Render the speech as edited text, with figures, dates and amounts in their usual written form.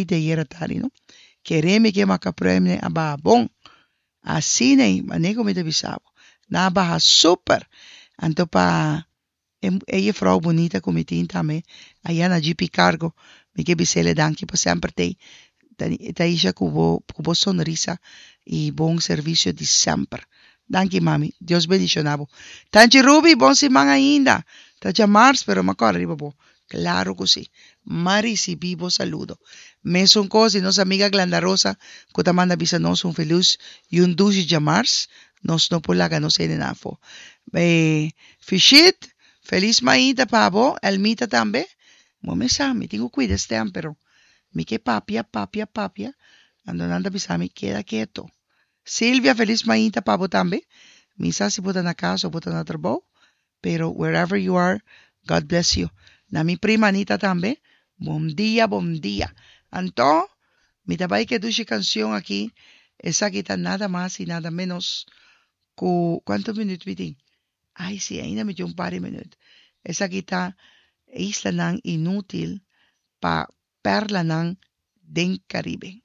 Di ayera tardi no. Kere mi ke maka pruimne a baha bon. Asina ei, mane ku mi ta bisa bo. Nan a baha super. Anto pa e e jefrouw bunita ku mi tin tambe aya na GP Cargo, mi ke bis'ele danki pa semper t'ei. Taisha ku bo ku bo sonrisa i bon servisio di semper. Danki mami. Dios bendiciona bo. Tanchi Ruby, bon siman ainda. Ta djamars pero m'a kòrda riba bo. Claro cu si. M'a ricibi bo saludo. Mesun cos di nos amiga Glenda Rosa cu ta manda bisa nos un feluz y un dushi djamars. Nos no por laga nos hendenan afo. Fishit, feliz mainta pa bo. Elmita tambe. Bo mes sa, mi tin cu cuida stem pero mi ke papia, papia, papia. Anto nan ta bisa mi keda keto. Silvia, feliz mainta pa bo tambe. Mi sa si bo ta na cas o bo ta na trabou. Pero wherever you are, God bless you. Na mi prima Anita tambe, bon dia, bon dia. Anto, mi ta bai ke dushi cancion aki, esaki ta nada mas y nada menos cu, cuanto minuut mi tin? Ay si, ainda mi tin un par di minuut. Esaki ta Islanan Inutil pa Perlanan den Caribe.